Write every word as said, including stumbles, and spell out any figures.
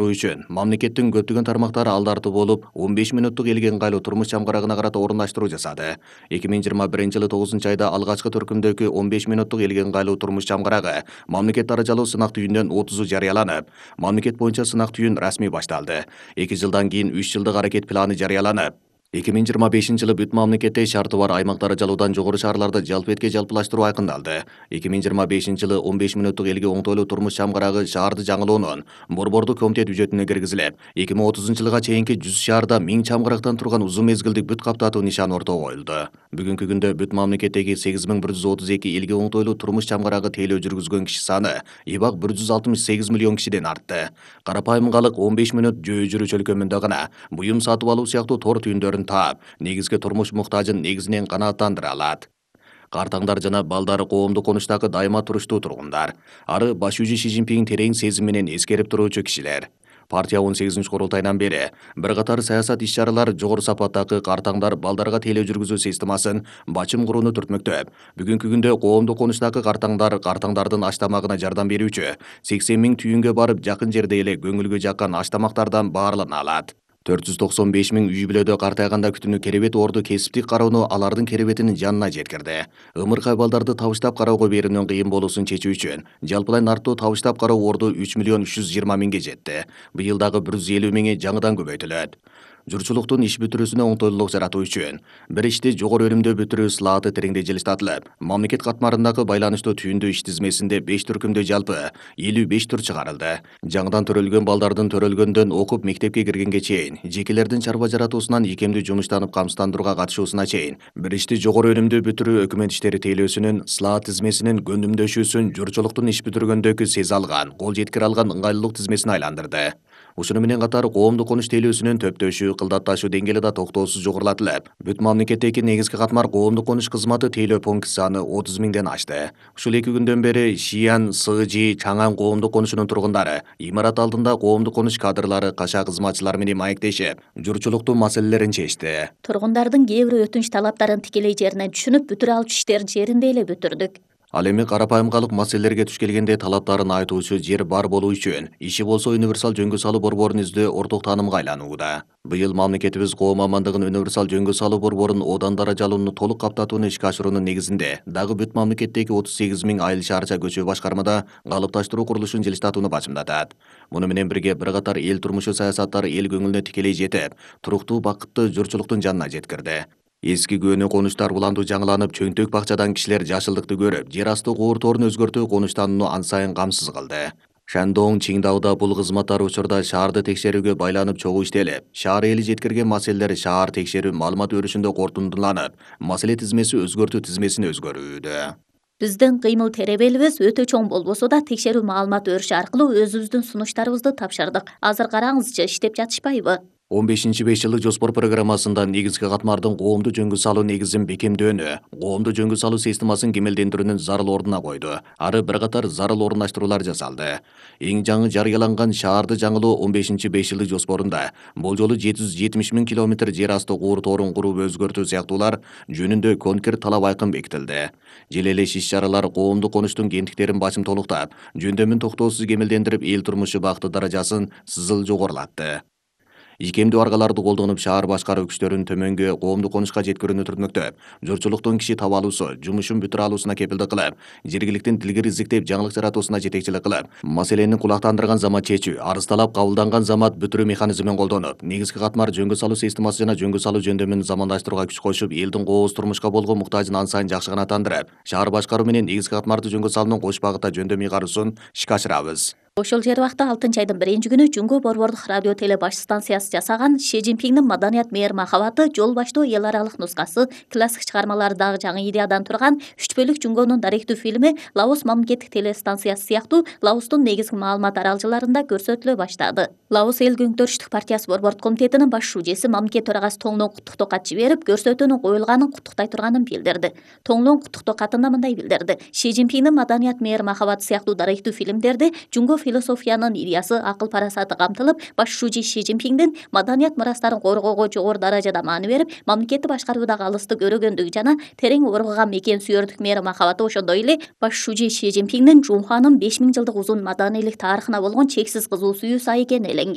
үчүн мамлекеттин көптөгөн тармактары алдартуу болуп, он беш мүнөттүк элге ыңгайлуу турмуш чамгарагына карата орундаштыруу жасады. эки миң жыйырма биринчи жылы тогузунчу айда алгачкы төркүмдөгү он беш мүнөттүк элге ыңгайлуу турмуш чамгарагы мамлекет даражалуу сынак түйүндөн отузу жарыяланып, мамлекет боюнча сынак түйүн расмий башталды. эки жылдан кийин үч жылдык аракет планы жарыяланып, эки миң жыйырма бешинчи жылы бүт мамлекетте шарты бар аймак даражалуудан жогору шаарларды жалпы этке жалпылаштыруу айкындалды. эки миң жыйырма бешинчи жылы он беш мүнөттүк элге оңтойлуу турмуш чамгарагы шаарды жаңылоонун борбордук комитет бюджетине киргизилип, эки миң отузунчу жылга чейинки жүз шаарда миң чамгарактан турган узун мезгилдик бүт каптатуу нишаны ортого коюлду. Бүгүнкү күндө бүт мамлекеттеги сегиз миң бир жүз отуз эки элге оңтойлуу турмуш чамгарагы тейлөө жүргүзгөн киши саны ибак бир жүз алтымыш сегиз миллион кишиден артты. Карапайым калык он беш мүнөт жөө жүрүү чөлкөмүндө гана буюм сатып алуу сыяктуу тор түйүндөрүн таап, негизги турмуш муктажын негизинен канааттандыра алат. Картаңдар жана балдары коомдук конуштагы дайыма туруштуу тургундар. Ары башчы Ши Цзиньпин терең сезим менен эскерип туруучу кишилер. Партия он сегизинчи курултайынан бери бир катар саясат иш-чаралар жогору сапаттагы картаңдар балдарга тейлөө жүргүзүү системасын бачым курууну түртмөктөп, бүгүнкү күндө коомдук конуштагы картаңдар картаңдардын аш тамагына жардам берүүчү сексен миң түйүнгө барып жакын жерде эле көңүлгө жаккан аш тамактардан баарлана алат. төрт жүз токсон беш миң үй бүлөдө картайганда күтүүнү керебет орду кесиптик кароону алардын керебетинин жанына жеткирди. Ымыркай балдарды табыштап кароого берүүнүн кыйын болуусун чечүү үчүн жалпылай нарттуу табыштап кароо орду үч миллион үч жүз жыйырма миңге жетти. Быйыл дагы бир жүз элүү миңи жаңыдан көбөйтүлөт. Журчулуктун иш бүтүрүүсүнө оңтойлуулук жаратуу үчүн бир ишти жогору өнүмдүү бүтүрүү слааты тереңдей жылыштатылып, мамлекет катмарындагы байланыштуу түйүндүү иш тизмесинде беш түркүмдө жалпы элүү беш түр чыгарылды. Жаңыдан төрөлгөн балдардын төрөлгөндөн окуп мектепке киргенге чейин, жекелердин чарба жаратуусунан икемдүү жумуштанып камсыздандырууга катышуусуна чейин бир ишти жогору өнүмдүү бүтүрүү өкмөт иштери тейлөөсүнүн слаат тизмесинин көндүмдөшүүсүн журчулуктун иш бүтүргөндөгү сезе алган, кол жеткире алган ыңгайлуулук тизмесине айландырды. Ушуну менен катар коомдук конуш тейлөөсүнүн төптөшү, кылдатташуу деңгээли да токтоосуз жогорулатылып, бүт мамлекеттеги негизги катмар коомдук конуш кызматы тейлөө пункт саны отуз миңден ашты. Ушул эки күндөн бери Шиян, Сыжи, Чаңан коомдук конушунун тургундары имарат алдында коомдук конуш кадрлары, кашаа кызматчылары менен маектешип, журчулуктун маселелерин чечти. Тургундардын кээ бир өтүнүч талаптарын тикелей жерине түшүнүп, бүтүрө алчу иштерди жеринде эле бүтүрдүк. Ал эми карапайым калык маселелерге туш келгенде талаптарын айтуучу жер бар болуу үчүн иши болсо универсал жөнгө салуу борборун издөө орток таанымга айланууда. Быйыл мамлекетибиз коом амандыгын универсал жөнгө салуу борборун одан даражалууну толук каптатууну ишке ашыруунун негизинде дагы бүт мамлекеттеги отуз сегиз миң айыл шаарча көчө башкармада калыпташтыруу курулушун жылыштатууну бачымдатат. Муну менен бирге бир катар эл турмушу саясаттары эл көңүлүнө тикелей жетип, туруктуу бакытты журчулуктун жанына жеткирди. Эски көөнү конуштар улантуу жаңыланып, чөнтөк бакчадан кишилер жашылдыкты көрүп, жер асты куурторун өзгөртүү конуштанууну ан сайын камсыз кылды. Шандоң, Чиңдауда бул кызматтар учурда шаарды текшерүүгө байланып чогуу иштелип, шаар эли жеткирген маселелер шаар текшерүү маалымат өрүшүндө корутундуланып, маселе тизмеси өзгөртүү тизмесине өзгөрүүдө. Биздин кыймыл теребелибиз өтө чоң болбосо да текшерүү маалымат өрүшү аркылуу өзүбүздүн сунуштарыбызды тапшырдык. Азыр караңызчы, иштеп жатышпайбы? он бешинчи беш жылдык жоспор программасында негизги катмардын коомду жөнгө салуу негизин бекемдөөнү, коомду жөнгө салуу системасын кемелдендирүүнүн зарыл ордуна койду. Ары бир катар зарыл орундаштыруулар жасалды. Эң жаңы жарыяланган шаарды жаңылоо он бешинчи беш жылдык жоспорунда болжолу жети жүз жетимиш миң километр жер асты куур тоорун куруп өзгөртүү сыяктуулар жөнүндө конкрет талап айкын бекитилди. Желелеш иш-чаралар коомдук конуштун кемтиктерин бачым толуктап, жөндөмүн токтоосуз кемелдендирип, эл турмушу бакыты даражасын сызыл жогорулатты. Икемдүү аргаларды колдонуп, шаар башкаруу күчтөрүн төмөнгө коомдук конушка жеткирүүнү түртмөктөп, журчулуктун киши таба алуусу, жумушун бүтүрө алуусуна кепилдик кылып, жергиликтин дилгир изиктеп, жаңылык жаратуусуна жетекчилик кылып, маселени кулактандырган замат чечүү, арыз талап кабылданган замат бүтүрүү механизмин колдонуп, негизги катмар жөнгө салуу системасы жана жөнгө салуу жөндөмүн замандаштырууга күч кошуп, элдин кооз турмушка болгон муктажын ан сайын жакшы канааттандырып, шаар башкаруу менен негизги катмарды жөнгө салуунун кош багытта жөндөм ыйгарууусун ишке ашырабыз. Ошол жер убакта алтынчы айдын биринчи күнү Жүнгө борбордук радио теле баш станциясы жасаган Ши Цзиньпиндин маданият мээр махабаты жол баштоо эл аралык нускасы, классик чыгармалардагы жаңы идеядан турган үч бөлүк Жүнгөнүн даректүү фильми Лаос мамлекеттик телестанциясы сыяктуу Лаостун негизги маалымат аралжаларында көрсөтүлө баштады. Лаос эл көңтөрүштүк партиясы борбордук комитетинин баш шужеси мамлекет төрагасы Тоңлон куттуктоо кат жиберип, көрсөтүүнүн коюлганын куттуктай турганын билдирди. Тоңлон куттуктоо катында мындай билдирди: Ши Цзиньпиндин маданият мээр махабаты сыяктуу даректүү фильмдерди Жүнгө философиянын идеясы, акыл парасаты камтылып, башчы Ши Цзиньпиндин маданият мурастарын коргоого жогору даражада маани берип, мамлекетти башкаруудагы алыстык өрөгөндүгү жана терең оргуган мекен сүйөрдүк мээри махабаты, ошондой эле башчы Ши Цзиньпиндин Жунхуанын беш миң жылдык узун маданийлик тарыхына болгон чексиз кызуу сүйүүсү экени эленген.